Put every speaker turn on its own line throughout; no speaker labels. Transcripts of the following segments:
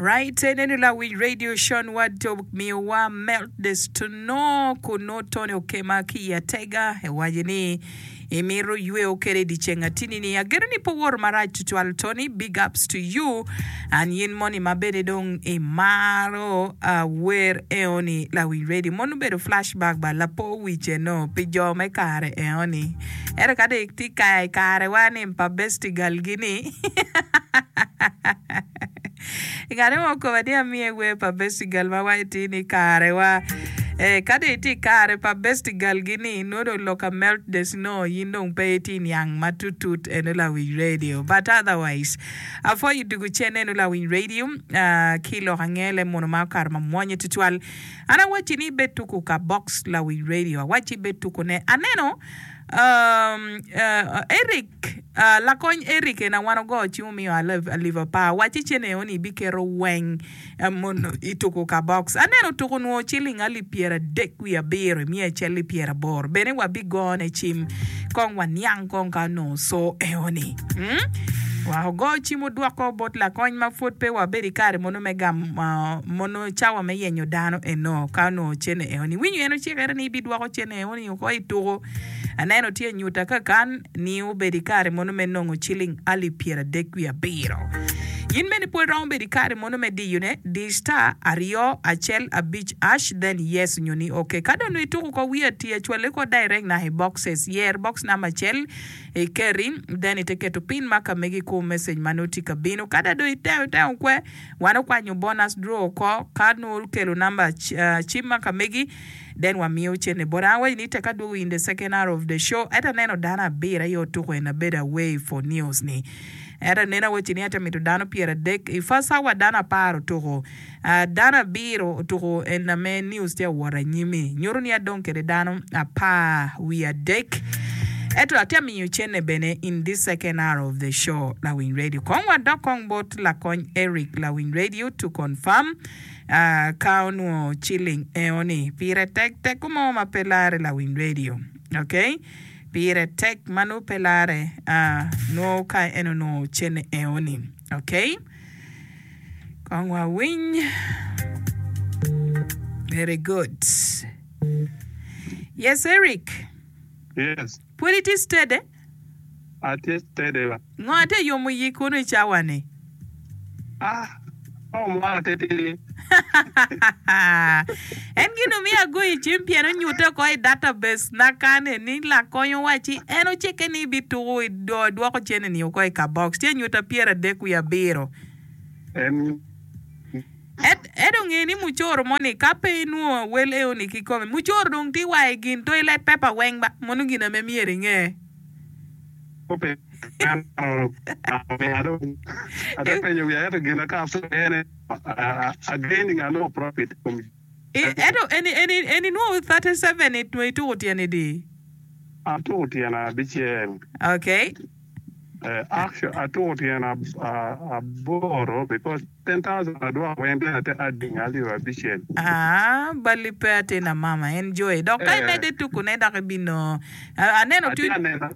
Right enenu lawiny radio Sean Wad omiyowa melt the snow kun nongo Tony okema ki i atega ewaco ni imito yweo kede i dyeceng atini ni ageno ni pe owoto marac tutwal Tony big ups to you and yin moni ma bene dong imaro wer eoni lawiny radio mono obedo flash back ba lapo wic eno pi jo me kare eoni ento ka dong itye ka i karewa ni pa bestigal gi ni I kare mo okoba ni amiye wer pa Bestie Girl ma waco atir ni karewa. Eh, ka dong itye i kare pa Bestie Girl gi ni nongo dong lok ka melt the snow in dong pe itye niang matutut eno lawiny radio. But otherwise, apwoyo dugu cen eno lawiny radio ah, ki lok angele muno ma okato mamwonya tutwal. An awacci ni ibed tuku ka box lawiny radio, awacci ibed tuku ne. Aneno um, uh, Eric Lakony Eric ena wan ogo cim omiyo alip apar wacci cene eo ni ibiketo weng mono i tuku ka box. Aneno tuku nwo ciling alip pyeradek wiye abiro i miya acel ki pyeraboro bene wabigone cim kong waniang kong ka onongo co eo ni. Wa ogo cim odwoko bot lakony ma pwod pe wabedo i kare mono me gamo mono cawa me yenyo dano eno ka onongo cene eo ni. Winyo en ocikere ni ibidwoko cene eo ni oko i tuku. Aneno tye nyuta kakan. ni obed i kare mono me nongo ciling alip pyeradek wiye abiro. In bene pwod iromo bedo i kare mono me diyone, di star aryo acel abic ash then yes nyo ni ok. Ka dong nongo ituko ko wiye atiya cwale ko direct naka i boxes. Yer box number acel ikeri then ite keto pin ma ka megi ikur message ma nongo tye ka bino. Ka da dong itemo itemo kwe, wan okwanyo bonus draw oko ka nongo okelo number cim ma ka megi. Then wamiyo cente bote. An awaco ni tek adwogo in the second hour of the show ento aneno dano abiro aye otuko en abedo away for news ni. Ento aneno awaci ni ate mito dano pyeradek i first hour dano apar otuko dano abiro otuko en ame news tye awot anyimi nyuto ni adong kede dano apar wiye adek ento atye amiyo cente bene in this second hour of the show lawiny radio. Kong wadok kong bot lakony Eric lawiny radio to confirm. Ka onwongo ciling eo-ni, pire tek teko mo ma pe larre lawiny radio. Ok? Pire tek ma nongo pe larre, nongo ka en onongo cene eo-ni. Ok? Kong wawiny. Very good. Yes, Eric.
Yes.
Pwod itye steady?
Atye steady ba.
Ngo atye yomo iyi kunu i cawa ni?
Ah, oh mwana titidi.
En gin omiyo agoyo i cim pien onyutte oko i database na kane ni lakony owacci en ocikke ni ebituko edwoko cene ni oko i kabox tye anyuta pyeradek wiye abiro.
En
Ento nge ni mucoro moni ka pe inwongo wel eoni kikome, mucoro dong tye wa i gin toilet paper weng ba, mono gin ame myero inge. Ento eni inwongo 37 ituko tyene di?
Atuko tyene abicel.
Okay.
Actually atuko tyene aboro because 10,000 adwoko weng then ate adding alip abicel.
Aah bali pe atina mama en joy dok ka imedde tuku ne dok ibinongo aneno
Atye aneno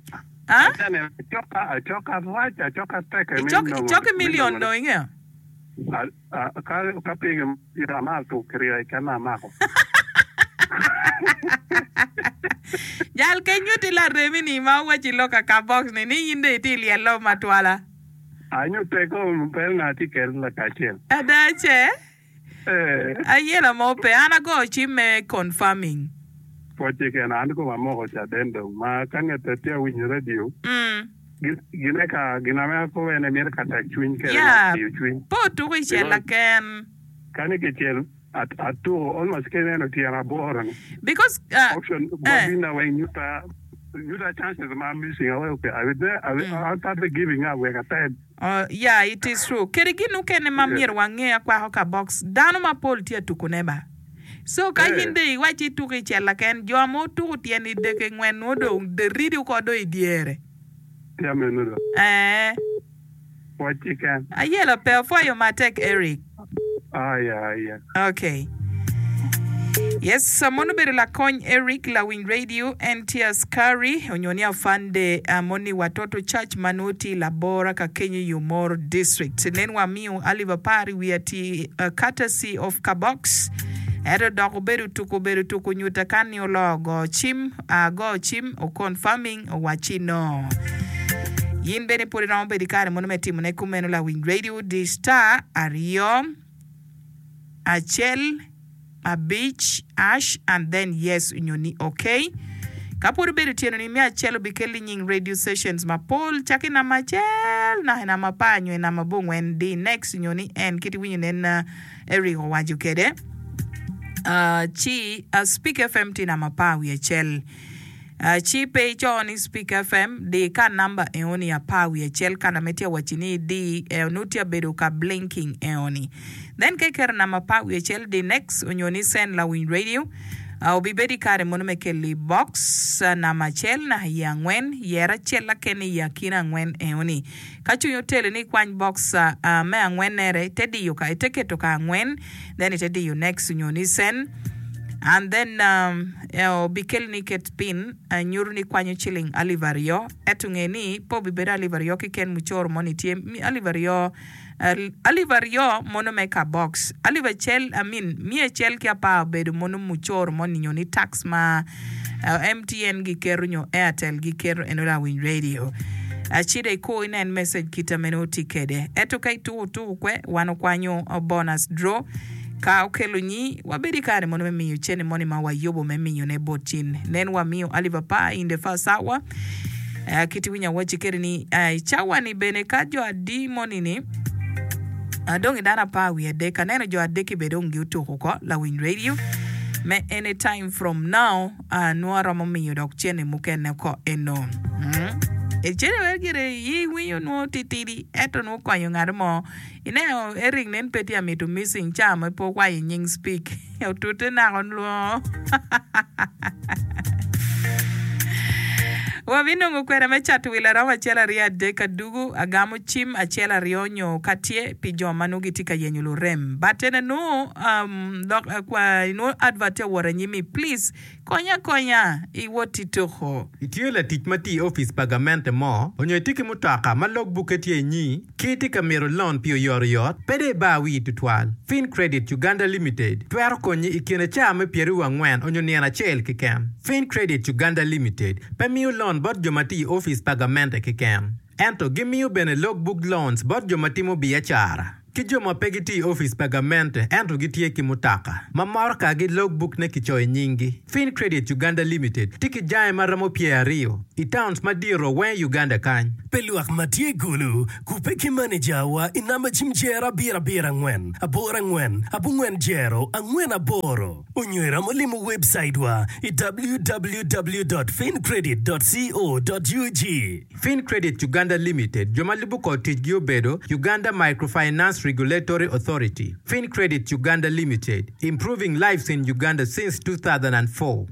atye aneno acoka acoka rac acoka tek me nongo
Icoki million dong ingeyo.
Ka pinge ita amaro tuko kirya keken ma amako.
Jal ke nyuti laremi ni ma owaci lok akabox ni ni in dong itye ilyello matwala.
Anyute kom bel na atye kede lakacel.
Ada ce?
Ee.
Ayela mo pe. An agoyo cim me confirming.
Pwoc keken an koma amoko caden dong ma ka ngete tye awinyo radio gine ka gin ame akobo ene mito ka tek cwiny kede
Yeah,
diyo cwiny.
pe otuko i cel
Because
laken.
kani kicel atuko almost ka ineno tyen aboro ni
Because uh,
option
eh.
mabina weng nyuta nyuta chances ma missing awe okay I will, I will, I'll start giving up wek ated.
Oh, yeah, it is true. Kadi gin mukene ma myero wange akwako ka box, dano mapol tye atukune ba. So ka in dong iwaci ituko i cella ken, jo ma otuko tyen i deke ngwen nwo dong ridi oko dong i dyere.
Tye meno do.
Ee.
Pwoc keken.
Ayela pe apwoyo matek Eric.
Aya aya.
Okay. Yes, mono obedo lakony Eric lawiny radio, en tye askari onyo ni afande moni watoto church ma nwo tye i Labora ka kenyo i Omoro district. Nen wa miyo alip apar i wiye ati courtesy of Kabox. Ento dok obedo tuko obedo tuko nyuta kan ni oloo go cim, go cim o confirming owacci no. Yin bene pwod iromo bedo i kare mono me timone kumeno lawiny radio di star aryo acel abic ash and then yes onyo ni ok. Ka pwod obedo tyeno ni me acel obikelli nying radio sessions mapol cako i namba acel naka i namba apar nyo i namba abongwen di next onyo ni en kit iwinyo nen Eric owaco kede ci Speak FM tye namba apar wiye acel. Ci pe ico ni Speak FM, di ka namba eoni apar wiye acel kana ma itye waci ni idi nongo tye abedo ka blinking eoni. Then ka iketo namba apar wiye acel di next onyo ni send lawiny radio obibedo i kare mono me keli box namba acel naka iye angwen yer acel lakene i akina angwen eoni. Ka cwinyi oteli ni ikwany box me angwen nere ite diyo ka ite keto ka angwen then ite diyo next onyo ni send and then obikeli ni iket pin nyuto ni ikwanyo ciling alip aryo ento nge ni pe obibedo alip aryo keken mucoro moni tye alip aryo Alip aryo mono me ka box, alip acel I mean miya acel ki apar obedo mono mucoro moni nyo ni tax ma MTN giketo nyo Airtel giketo eno lawiny radio. Acida ikur inen message kita meno tye kede. Ento ka ituku tuku kwe wan okwanyo bonus draw ka okelo nyi wabedo ikare mono me miyo cene moni ma wayubo me miyo ne bot cin. Nen wamiyo alip apar in the first hour. Kit iwinyo awacci kede ni i cawa ni bene ka jo adi moni ni dong i dano apar wiye adek aneno jo adek-ki bene dong giutuko oko lawiny radio me any time from now nongo aromo miyo dok cene mukene oko eno. Cene mere gire iwinyo nongo titidi ento nongo konyo ngat mo. Ineno Eric nen pe tye amito missing ca ma pe okwayo nying speak otute naka onwongo. Wabinongo kwena me cato wil aromo acel aryo adek adugu agamo cim acel aryo nyo ka tye pi jo ma nongo gitye ka yenyo lurem but ene nongo um, lok kwa nongo advert tye awot anyimi please Konya akonya i wot i tuko.
Itye latic ma tye i opic pa gamente mo, onyo itye ki mutoka ma log bukke tye inyi, ki itye ka mito lon pi oyotoyot, pe dong ibar wii tutwal. Fincredit Uganda Limited twero konyi i kine caa me pyeraryo angwen onyo nino acel keken. Fincredit Uganda Limited pe miyo lon bot jo ma tye i opic pa gamente keken, ento gimiyo bene log book loans bot jo ma timo biacara. Ki jo ma pe gitye i opic pa gamente ento gitye ki mutoka ma motokagi logbook-ne kicoyo i nyinggi. Fincredit Uganda Limited tye ki jange ma romo pyeraryo i towns madito weng i Uganda kany.
Pi lwak ma tye i Gulu, kubbe ki manejawa i namba cim jero abiro abiro angwen aboro angwen abongwen jero angwen aboro onyo iromo limo webcaitwa i www dot fincredit dot co dot ug.
Fincredit Uganda Limited, jo ma lubo kor ticgi obedo, Uganda Microfinance Regulatory Authority, Fincredit Uganda Limited, Improving lives in Uganda since 2004.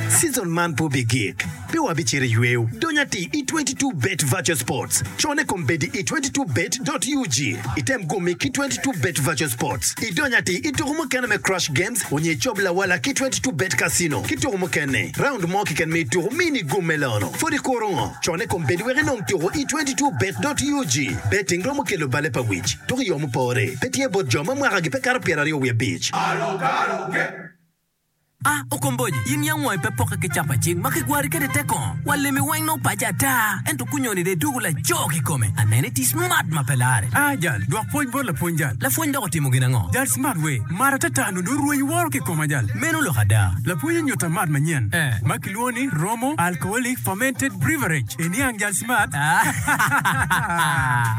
Season man pe obigik. Pe wabicito i yweyo. Dony atir i 22 Bet Virtual Sports. Cone kombeddi i 22 bet dot ug. Item gummi ki 22 Bet Virtual Sports. Idony atir i tuku mukene me Crush Games onyo icob lawala ki 22 Bet Casino ki tuku mukene. Round mo keken me ituku mini gum me lono. Pwod ikuro ngo? Cone kombeddi wek inong tuku i 22 bet dot ug. Betting romo kelo bale pa wic. Tuku i yo mupore. Pe tye bot jo ma mwakagi pe kato 25.
A Okomboji, in yam wangi pe pokke ki capa cing ma kigwari kwede te kongo. Wa lemi weng nongo paco ata, ento kunyoni dong idwogo laco kikome. Aneno iti smart ma pe lare.
A Jal, dwok pwoc bot lapwony jal.
Lapwony dok otimo gin ango?
Jal smart we, mar atata nongo dong orweny woro ki koma jal.
Meno lok ada.
Lapwony onyuta mat manyen
Eh.
ma kilwongo ni Romo Alcoholic Fermented Breverage. Iniang jal smart?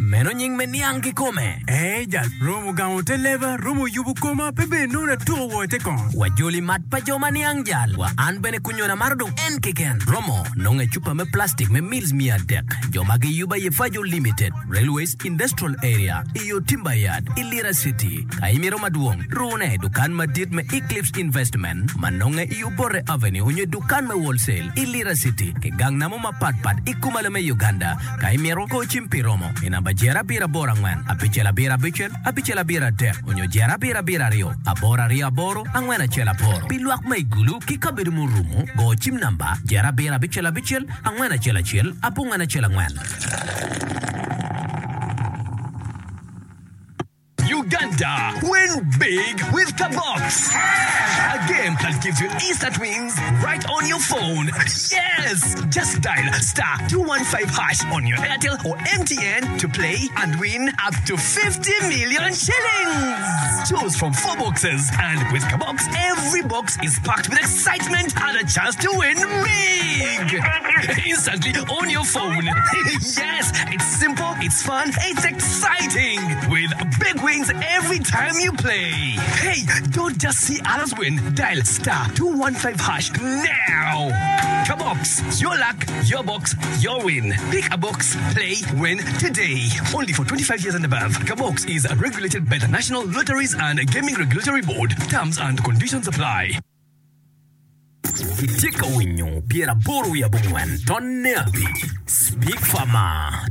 Meno nying me niang kikome.
Ee jal, romo gamo te leba, romo yubo koma, pe bene nongo natuko woko i te kongo.
Wajoli mat pa jo. jo ma niang jal. Wa an bene kunyona amaro dong en keken. Romo nongo i cupa me plastic me mils 300. Jo ma giyubo aye Fajo Limited, Railways Industrial Area, i yo Timber Yard, i Lira City. Ka imito madwong, rune i dukan madit me Eclipse Investment ma nonge i Obote Avenue onyo i dukan me Wholesale i Lira City ki gang namo mapat pat i kumalo me Uganda. Ka imito, go cim pi romo i namba jero abiro aboro angwen abicel abiro abicel abicel abiro adek onyo jero abiro abiro aryo aboro aryo aboro angwen acel aboro. Pi lwak ma i Gulu ki kabedo murumo, go cim namba jero abiro abicel abicel angwen acel acel abongwen acel angwen.
Uganda, win big with Kabox! A game that gives you instant wins right on your phone. Yes! Just dial star 215 hash on your Airtel or MTN to play and win up to 50 million shillings. Choose from four boxes, and with Kabox, every box is packed with excitement and a chance to win big. Instantly on your phone. yes, it's simple, it's fun, it's exciting. With big wins every time you play. Hey, don't just see others win. Dial star 215 hash now. Kabox, your luck, your box, your win. Pick a box, play, win today. Only for 25 years and above. Kabox is regulated by the National Lotteries and Gaming Regulatory Board. Terms and conditions apply.
Itye ka winyo pyeraboro wiye abongwen tonne abic Speak Farmer.